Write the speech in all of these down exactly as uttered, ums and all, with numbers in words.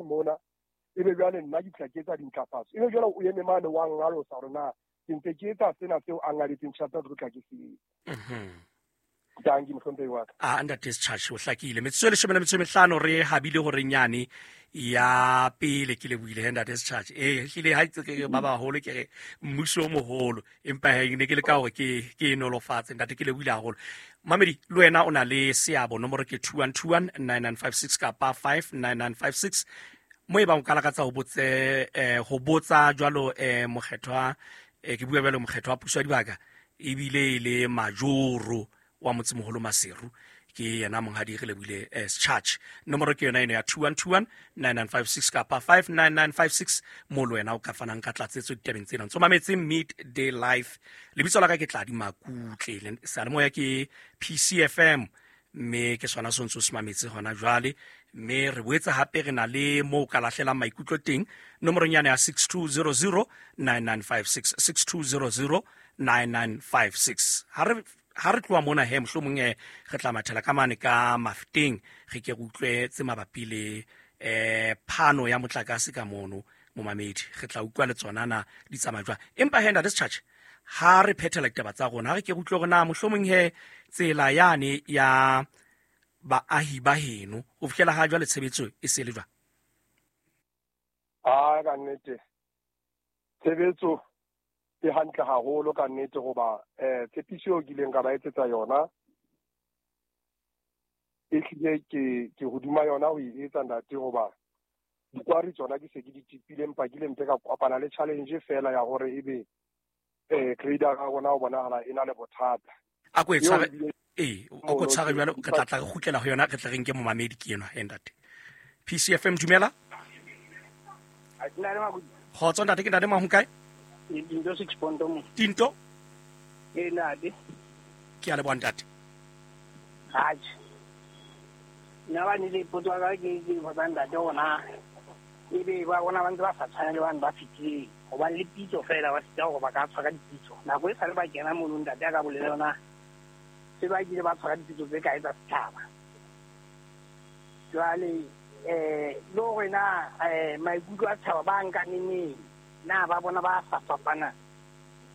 mona ebe jwale nna ke tla ke etsa dintlafatso ebe jwale o eme mane wa ngalosa hore na ke ntse ke etsa sena seo a ngaditseng tjhelete tlo tla ke se mhm danki mohlomphehi wa ka. A ntate Sechurch o hlakile metsotso e leshome le metso e mehlano re habile hore nyane ya pele ke lebohile he ntate Sechurch e hlile ha itse ke ba baholo ke re mmuso o moholo empa he ne ke le ka hore ke ke e nolofatse ntate ke lebohile haholo. Mamedi le wena o na le seabo nomoro ke two one two one nine nine five six kapa five nine nine five six mo e bang o ka lakatsa ho botse eh, ho botsa jwalo eh, mokgethwa eh, ke bua jwalo mokgethwa wa puso ya dibaka ebile e le majoro wa motsemoholo Maseru ke yena monghadi re lebohile eh, Sechurch nomoro ke yona eno ya two one two one nine nine five six kapa five nine nine five six mo le wena o ka fanang ka tlatsetso ditabeng tsena ntso mametse Midday Life lebitso la ka ke Tladi Makutle seyalemoya ke P C F M mme ke sona se ntse o se mametse hona jwale mme re boetse hape re na le moo ka lahlelang maikutlo teng nomorong yane ya six two zero zero nine nine five six six two zero zero nine nine five six ha re ha re tloha mona he mohlomong eh re tla mathela ka mane ka Mafeteng re ke re utlwe tse mabapi le eh phano ya motlakase ka mono momamedi re tla utlwa le tsona na di tsamaya jwang empa he ntate Sechurch ha re phethela ditaba tsa rona ha re ke re utlwe hore na mohlomong he tsela yane ya baahi ba heno ho fihlela ha jwale tshebetso e se le jwang? Ah ka nnete tshebetso e hantle haholo ka nnete hoba eh tshepiso eo ke ileng ka ba etsetsa yona e hlile ke ke hodima yona ho e etsa ntate hoba dikwari tsona ke se ke di tipile empa ke ile mpe ka kopana le challenge fela ya hore ebe eh grader ya rona ho bonahala e na le bothata. A ko e Eo tshware ebile ee o ko tshware jwalo re tla tla re kgutlela ho yona re tla re nke momamedi ke enwa he ntate. P C F M dumela. Kgotso ntate ke ntate Mahu kae? Tinto six point mo. Tinto? E ntate. Ke a leboha ntate. Atjhe. Nna ba ne le potso ya ka ke ke botsa ntate ona. Ebe ba bona ba ntse ba sa tshwane le bane ba fetileng. Hobane le pitso fela ba sita hore ba ka tshwara dipitso. Nako e sale ba kena mono ntate a ka bolela yona. Se ba kile ba tshwara dipitso tse kae tsa setjhaba. Jwale eh le hore na eh maikutlo a setjhaba ba nka neneng. Na ba bona ba sa fapana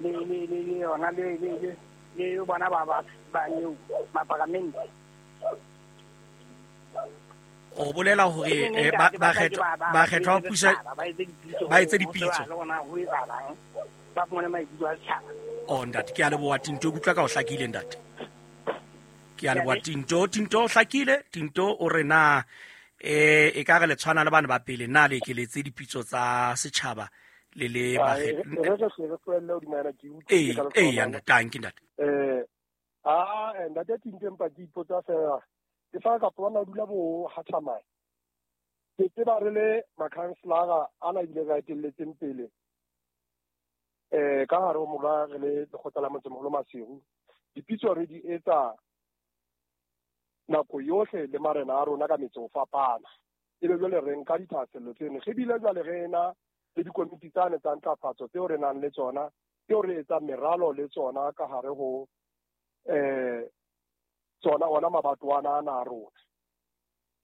le le le le yona le le le le bona ba ba ba neo maparamente. O bolela hore eh, ba ba kgethwa ba kgethwa ho pusa ba etse dipitso le bona ho etsahalang ba fumane maikutlo a setjhaba. Oh ntate ke a leboha Tinto ke utlwa ka o hlakile ntate. Ke a leboha Tinto Tinto o hlakile Tinto o re na eh e ka re le tshwana le bana ba pele na le ekeletse dipitso tsa setjhaba le le Ah, ba e re re hle re tlohelle hodima yona ke utlwile ee ka ee lefapha ya ntate ke ntate. Eh ah ntate Tinto empa ke ipotsa fela ke fa ka bona o dula bo Hathamai ke tseba re le makhanselara ana ebile re a etelletseng pele eh ka hare ho mola re le lekgotla la motsemoholo Maseru dipitso re di etsa nako yohle le marena a rona ka metse ho fapana ebe jwale re nka dithahasello tseno re bile jwale re na le dikomiti tsane tsa ntlafatso tseo re nang le tsona tseo re etsang meralo le tsona ka hare ho eh tsona ona mabatwana ana a rona.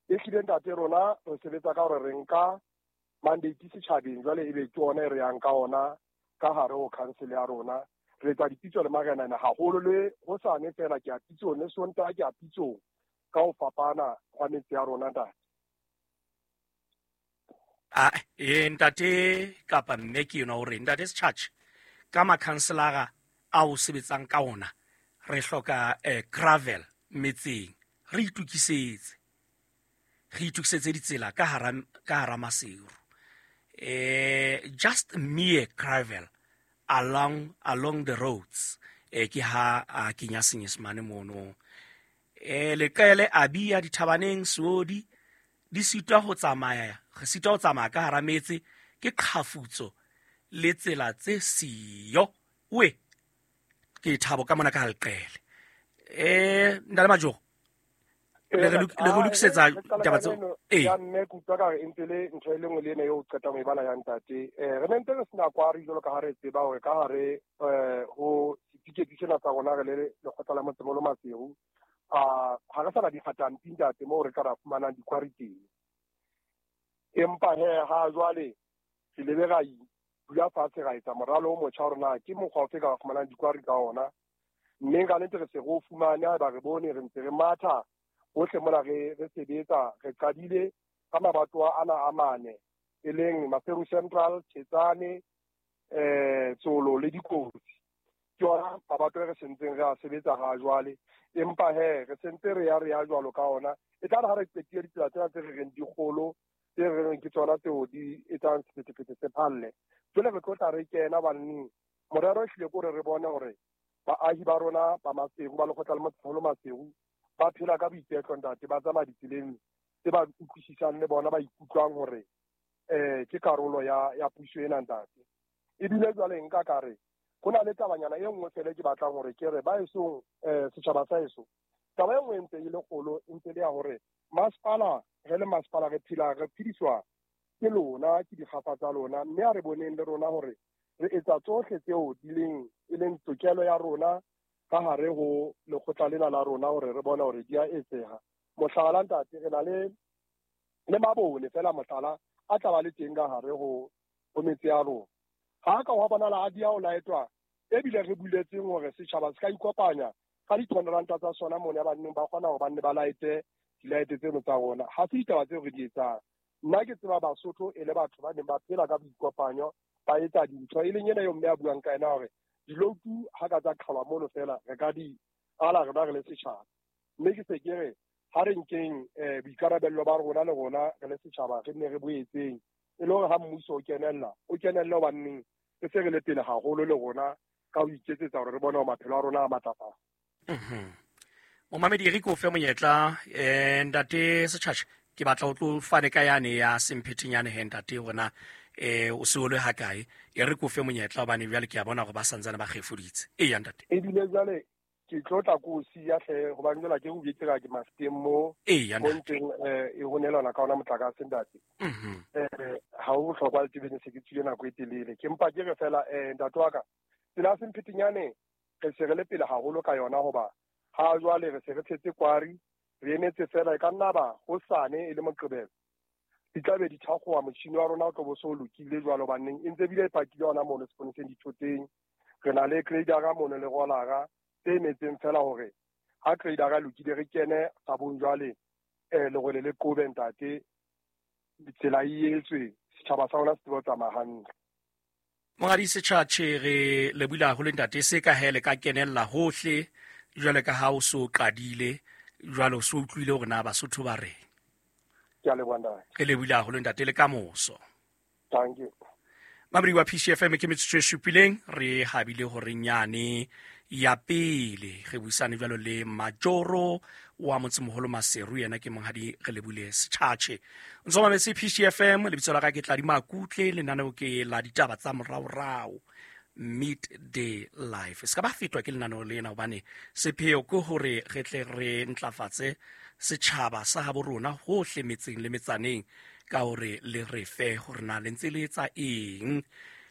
E hlile ntate rona re sebetsa ka hore re nka mandate setjhabeng jwale ebe ke ona e re yang ka ona ka hare ho council ya rona re etsa dipitso le marenana haholo le hosane fela ke a pitsong le Sontaha ke a pitsong ka ho fapana hwa metse ya rona ntate. Ah eh ntate kapa mme ke yona hore ntate Sechurch ka makhanselara a o sebetsang ka ona re hloka eh, gravel metseng re itukisetse re itukisetse ditsela ka hara ka hara Maseru eh just mere gravel along along the roads eh ke ha a kenya senyesemane mono eh leqele a bia dithabaneng seodi di sitwa ho tsamaya re sitwa ho tsamaya ka hara metse ke qhafutso le tsela tse siyo we ke thabo ka mona ka leqele eh ndale Majoro le re le re lokisetsa ditaba tseo ee ya mme ke utlwa ka re e ntse le ntho e le nngwe le ena eo o qetang ho e bala ya ntate eh re ne ntse re sena kwari jwalo ka ha re tseba hore ka hare eh ho setifikeiti sena sa rona re le lekgotla la motsemoholo Maseru a ha re sa na dikgatampi ntate moo re ka ra fumanang dikwari teng. Empa he ha jwale re lebe ra dula fatshe ra etsa moralo o motjha hore na ke mokgwa ofe ka fumanang dikwari ka ona. Mme ka nnete re se re o fumane, haeba re bone re ntse re matha hohle mona re re sebetsa. Re qadile ka mabatowa ana a mane, e leng Maseru Central, Thetsane, eh Tsolo le Dikotsi. Ke yona mabatowa e re sentseng re a sebetsa ha jwale. Empa he re sentse re ya re ya jwalo ka ona. E tla re ha re qetile ditsela tsena tse re reng di kgolo, tse re reng ke tsona tseo di etsang sephethephethe se phalle. Jwale re tlo tla re kena baneng. Morero e hlile ke hore re bone hore baahi ba rona ba Maseru, ba lekgotla la motsemoholo Maseru, ba phela ka boiketlo ntate, ba tsamaya ditseleng tse ba utlwisisang le bona, ba ikutlwang hore eh ke karolo ya ya puso ena ntate. Ebile jwale nka ka re ho na le tabanyana e nngwe fela ke batlang hore ke re ba esong eh setjhaba sa eso. Taba e nngwe e ntse e le kgolo, e ntse le ya hore masepala, re le masepala re phela re phediswa ke lona, ke dikgafa tsa lona, mme a re boneng le rona hore re etsa tsohle tseo di leng e leng tokelo ya rona ka hare ho lekgotla lena la rona hore re bone hore di a etseha. Mohlala ntate, re na le le mabone fela mohlala a tla ba le teng ka hare ho ho metse ya rona. Ha ka wa bonala a dia o laetwa, ebile re buletseng hore setjhaba se ka ikopanya ka di-twenty tsa sona mone ba nneng ba kgona hore ba nne ba laete dilaete tseno tsa rona. Ha se ditaba tseo re di etsang. Nna ke tseba Basotho e le batho ba neng ba phela ka boikopanyo, ba etsa dintho e leng ena eo mme a buang ka ena hore diloutu ha ka tsa qhalwa mono fela re ka di ala rona re le setjhaba. Mme ke se ke re ha re nkeng eh boikarabello ba rona le rona re le setjhaba re nne re bo etseng, e le hore ha mmuso o kenella, o kenelle hobaneng re se re le pele haholo le rona ka ho iketsetsa hore re bone hore maphelo a rona a matlafala. Mhm. Momamedi re ko fe monyetla eh ntate Setjhatjhe, ke batla o tlo fane ka yane ya Semphetenyane he ntate hore eh o se o le hakae, e re ko fe monyetla hobane jwale ke a bona hore ba santsane ba kgefuditse. E ya ntate. Ebile jwale ke tlo tla ko siya hle hobane jwale ke o betse ka ke mafeteng mo mo nteng eh e honelana ka ona motlakase ntate. Mhm. Eh ha o bohlokwa le tebeng se ke tswile nako e telele. Ke mpa ke re fela eh ntate wa ka tsela Semphetenyane re se re le pele haholo ka yona hoba ha jwale re se re tshetse kwari, re emetse fela e ka nna ba hosane e le Moqebelo di tla be di thakgowa, motjhini wa rona o tlo bo so lokile jwalo baneng e ntse bile e pakile hona mono seponeseng dithoteng. Re na le gradera mono le rolara tse emetseng fela hore ha gradera lokile re kene sabong jwale eh lerole le qobe ntate, tsela e etswe setjhaba sa rona se tsebe ho tsamaya hantle. Monghadi Setjhatjhe, re lebohile haholo ntate, se ka hele ka kenella hohle jwale ka ha o so qadile jwale o so utlwile hore na Basotho ba reng. Ke a leboha ntate. Re lebohile haholo ntate, le ka moso. Thank you. Mamedi wa P C F M ke metsotso e supileng re habile hore nyane ya pele re buisane jwalo le Majoro wa motsemoholo Maseru, yena ke monghadi re lebohile Setjhatjhe. Ntso mametse P C F M, lebitso la ka ke Tladi Makutle, lenaneo ke la ditaba tsa moraorao Midday Life. Se ka ba fetwa ke lenaneo lena hobane sepheo ke hore re tle re ntlafatse setjhaba sa habo rona hohle metseng le metsaneng ka hore le re fe hore na le ntse le etsa eng.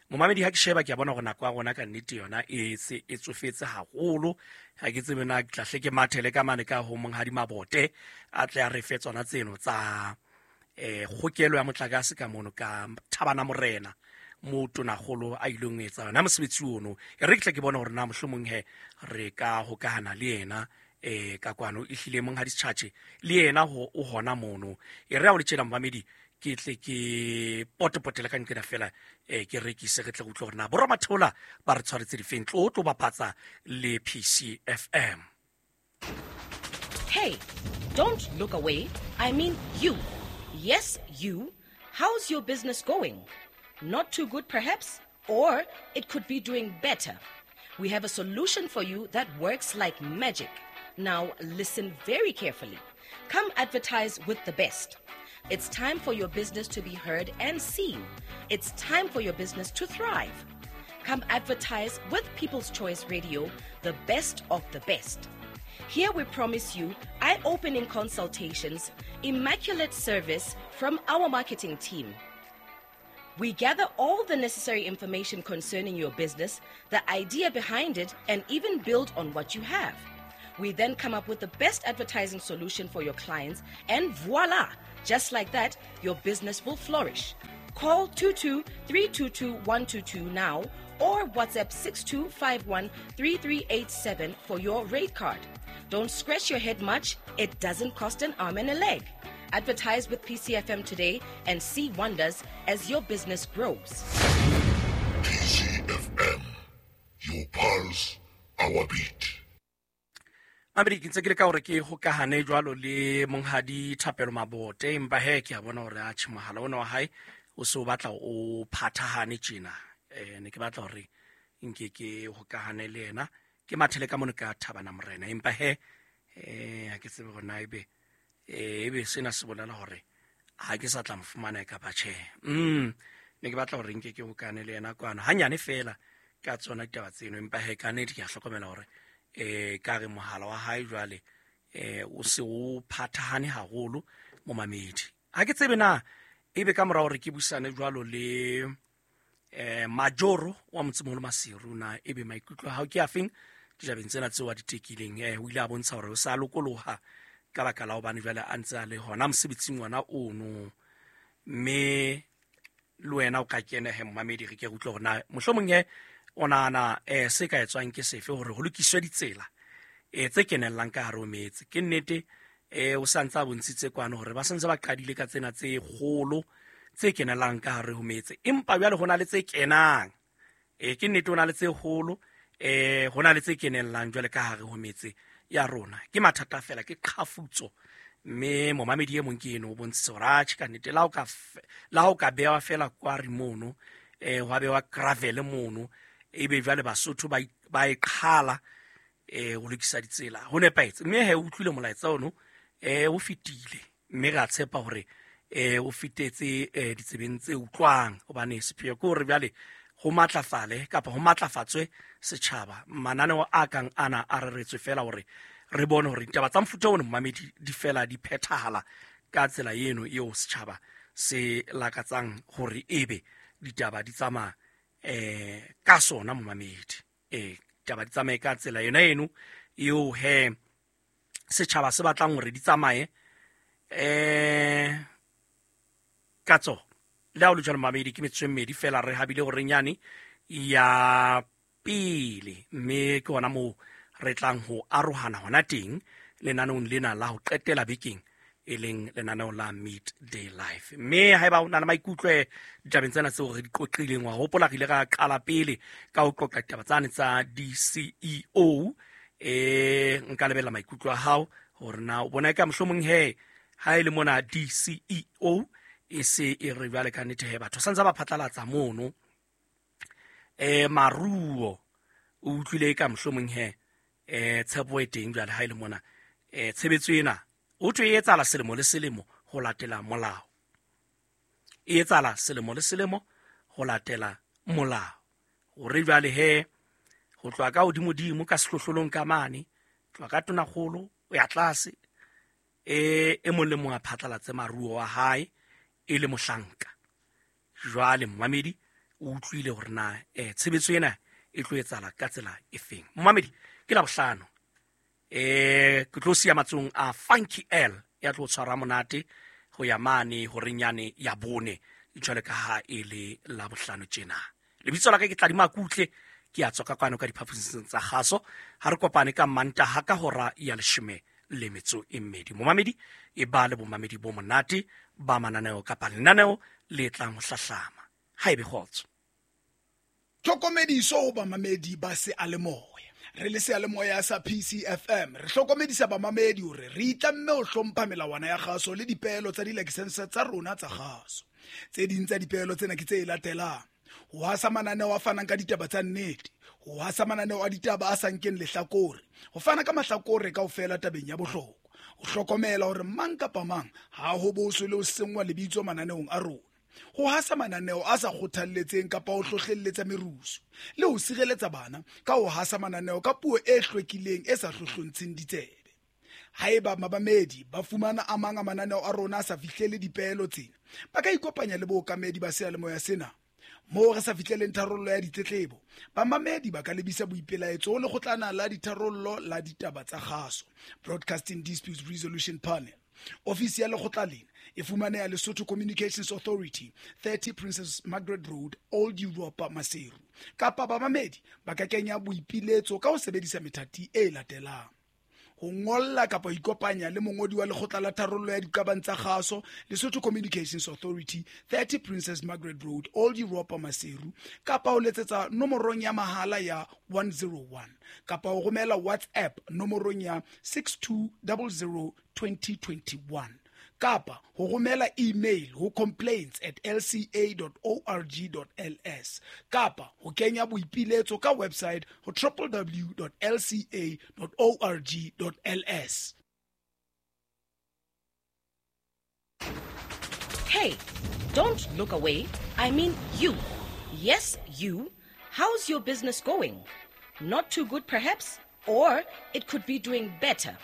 Momamedi ha ke sheba ke a bona hore nako ya rona ka nnete yona e se e tsofetse haholo. Ha ke tsebe na ke tla hle ke mathele ka mane ka ho monghadi Mabote a tle a re fe tsona tseno tsa eh kgokelo ya motlakase ka mono ka Thabana Morena mo tonakgolo a ileng etsa yona mosebetsi ono. E re ke tle ke bone hore na mohlomong he re ka hokahana le yena eh ka kwano e hlile monghadi Setjhatjhe le yena ho o hona mono. E re ha o le tjena momamedi ke tle ke potepotele ka nqena fela eh ke rekise re tle go utlwe hore na boramatheola ba re tshwaretse difeng. Tlo tlo bapatsa le P C F M. Hey, don't look away. I mean you. Yes, you. How's your business going? Not too good perhaps, or it could be doing better. We have a solution for you that works like magic. Now listen very carefully. Come advertise with the best. It's time for your business to be heard and seen. It's time for your business to thrive. Come advertise with People's Choice Radio, the best of the best. Here we promise you eye-opening consultations, immaculate service from our marketing team. We gather all the necessary information concerning your business, the idea behind it, and even build on what you have. We then come up with the best advertising solution for your clients, and voila! Just like that, your business will flourish. Call two two three two two one two two now or WhatsApp six two five one three three eight seven for your rate card. Don't scratch your head much. It doesn't cost an arm and a leg. Advertise with P C F M today and see wonders as your business grows. P C F M, your pulse, our beat. Mamedi, ke ntse ke le ka hore ke hokahane jwalo le monghadi Thapelo Mabote, empa he ke a bona hore a tjhe mohala ona wa hae o se o batla o phathahane tjena. Eh, ne ke batla hore nke ke hokahane le yena, ke mathele ka mono ka Thabana Morena, empa he eh ha ke tsebe hore na ebe eh ebe sena se bolela hore ha ke sa tla mo fumana kapa tjhe. Mm ne ke batla hore nke ke hokahane le yena kwana hanyane fela ka tsona ditaba tseno, empa he ka nnete ke a hlokomela hore eh ka re mohala wa hae jwale eh o se o phathahane haholo momamedi. Ha ke tsebe na ebe ka mora hore ke busane jwalo le eh Majoro wa Motsemoholo Maseru, na ebe maikutlo a hao ke afeng ditabeng tsena tseo a di tekileng? Eh o ile a bontsha hore o sa lokoloha ka baka la hobane jwale a ntse a le hona mosebetsing ona ono, mme le wena o ka kena he momamedi, re ke re utlwe hore na mohlomong he o nahana eh se ka etswang ke sefe hore ho lokiswe ditsela eh tse kenellang ka hare ho metse. Ke nnete eh o sa ntse a bontshitse kwano hore ba santse ba qadile ka tsena tse kgolo tse kenelang ka hare ho metse, empa jwale ho na le tse kenang. Eh ke nnete ho na le tse kgolo, eh ho na le tse kenellang jwale ka hare ho metse ya rona. Ke mathata fela, ke qhafutso, mme momamedi e mong ke eno o bontshitse hore atjhe ka nnete la ho ka la ho ka bewa fela kwari mono, eh hwa bewa gravel mono, ebe jwale Basotho ba ba e qhala eh ho lokisa ditsela ho nepahetse. Mme he o utlwile molaetsa ono eh o fetile, mme re a tshepa hore eh o fitetse eh ditsebeng tse utlwang, hobane sepheo ke hore jwale ho matlafale kapa ho matlafatswe setjhaba. Mananeo a kang ana a reretswe fela hore re bone hore ditaba tsa mofuta ono momamedi di fela di phethahala ka tsela eno eo setjhaba se lakatsang hore ebe ditaba di tsamaya eh ka sona momamedi. Eh ditaba di tsamaye ka tsela yona eno eo he setjhaba se batlang hore di tsamaye eh ka tsona. Le ha o le jwalo momamedi, ke metsotso e mmedi fela re habile hore nyane ya pele, mme ke hona moo re tlang ho arohana hona teng lenaneong lena la ho qetela bekeng, e leng lenaneo la Midday Life. Mme haeba o na le maikutlo ditabeng tsena tseo re di qoqileng, wa hopola re ile ra qala pele ka ho qoqa ditaba tsane tsa D C E O, eh nka lebella maikutlo a hao hore na o bona eka mohlomong he ha e le mona D C E O e se e re jwale ka nnete he batho santse ba phatlalatsa mono eh maruo, o utlwile ka mohlomong he eh tshepo e teng jwale ha e le mona eh tshebetso ena o thwe e etsahala selemo le selemo ho latela molao, e etsahala selemo le selemo ho latela molao, hore jwale he ho tloha ka hodimodimo ka sehlohlolong ka mane, tloha ka tonakgolo o ya tlase, eh e mong le mong a phatlalatse maruo wa hae e le mohlanka. Jwale momamedi o utlwile hore na eh tshebetso ena e tlo etsahala ka tsela e feng. Momamedi, ke Labohlano, eh ke tlo siya matsong a Funky L ya tlo tshwara monate ho ya mane horeng yane ya bone, jwale ka ha e le Labohlano tjena. Lebitso la ka ke Tladima Kutle, ke a tswa ka kwano ka diphaposing tsa kgaso. Ha re kopane ka Mantaha ka hora ya leshome le metso e mmedi. Momamedi, e ba le bomamedi bo monate ba mananeo kapa lenaneo le tlang ho hlahlama. Ha ebe kgotso. Tlhokomediso ho bamamedi ba seyalemoya. Re le seyalemoya sa P C F M re hlokomedisa bamamedi hore re itlamme ho hlompha melawana ya kgaso le dipeelo tsa dilakesense tsa rona tsa kgaso. Tse ding tsa dipeelo tsena ke tse latelang: ho hasa mananeo a fanang ka ditaba tsa nnete, ho hasa mananeo a ditaba a sa nkeng lehlakore, ho fana ka mahlakore kaofela tabeng ya bohlokwa, ho hlokomela hore mang kapa mang ha ho boswe le ho senngwa lebitso mananeong a rona, ho hasa mananeo a sa kgothalletseng kapa ho hlohlelletsa merusu, le ho sireletsa bana ka ho hasa mananeo ka puo e hlwekileng e sa hlohlontsheng ditsebe. Haeba mabamedi ba fumana a mang a mananeo a rona a sa fihlele dipeelo tsena, ba ka ikopanya le bookamedi ba seyalemoya sena Moo re sa fihleleng tharollo ya ditletlebo, bamamedi ba ka lebisa boipelaetso ho lekgotlana la ditharollo la ditaba tsa kgaso, Broadcasting Disputes Resolution Panel. Ofisi ya lekgotla lena e fumaneha Lesotho Communications Authority, thirty Princess Margaret Road, Old Europa, Maseru. Kapa bamamedi ba ka kenya boipiletso ka ho sebedisa methati e latelang: ho ngolla kapa ho ikopanya le mongodi wa lekgotla la tharollo ya diqabang tsa kgaso, Lesotho Communications Authority, thirty Princess Margaret Road, Old Europa, Maseru, kapa ho letsetsa nomorong ya mahala ya one zero one, kapa ho romela WhatsApp nomorong ya six two zero zero twenty twenty-one, kapa ho romela email ho complaints at l c a dot org dot l s, kapa ho kenya boipiletso ka website ho w w w dot l c a dot org dot l s. Hey, don't look away. I mean you. Yes, you. How's your business going? Not too good perhaps, or it could be doing better.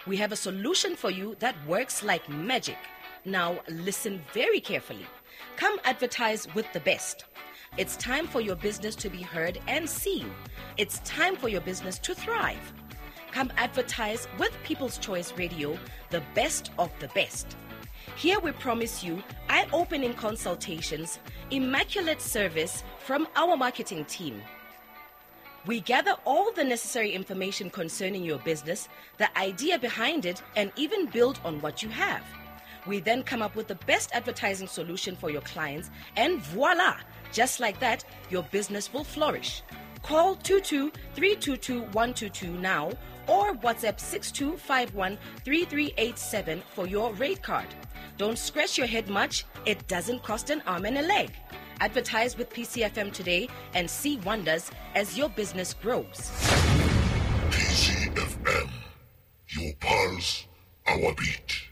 We have a solution for you that works like magic. Now listen very carefully. Come advertise with the best. It's time for your business to be heard and seen. It's time for your business to thrive. Come advertise with People's Choice Radio, the best of the best. Here we promise you eye-opening consultations, immaculate service from our marketing team. We gather all the necessary information concerning your business, the idea behind it, and even build on what you have. We then come up with the best advertising solution for your clients, and voila! Just like that, your business will flourish. Call two two three two two one two two now or WhatsApp six two five one three three eight seven for your rate card. Don't scratch your head much. It doesn't cost an arm and a leg. Advertise with P C F M today and see wonders as your business grows. P C F M, your pulse, our beat.